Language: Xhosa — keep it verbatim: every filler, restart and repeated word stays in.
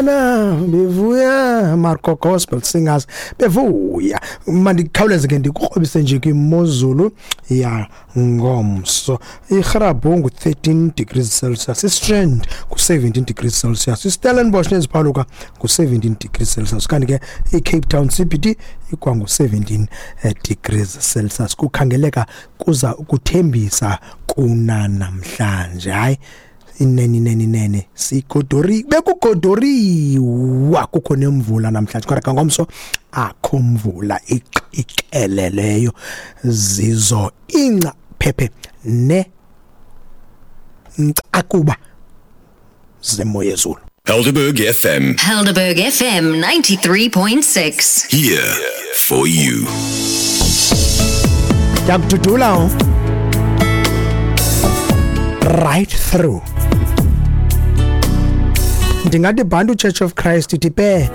Bevuyana, bevuya, Marco Gospel Singers bevuya. Mandikhawuleze ke ndikukrobise nje kwimozulu ya ngomso. IGrabong ngu-thirteen degrees Celsius, iStrand ngu-seventeen degrees Celsius, iStellenbosch neziphaluka ngu-seventeen degrees Celsius, kanti ke iCape Town C B D ikwangu-seventeen degrees Celsius. Kukhangeleka kuza ukuthembisa kuna namhlanje. Hayi, inene inene inene sigodori, bekugodoriwa kukho nemvula namhlanje, kodwa ngomso akho mvula iqeleleyo, zizo ingca phephe ne ncakuba zemoya yezulu. Helderberg F M. Helderberg F M ninety-three point six. Here for you. Ndiyakududula right through. Ndingathi Bantu Church of Christ ithi pe.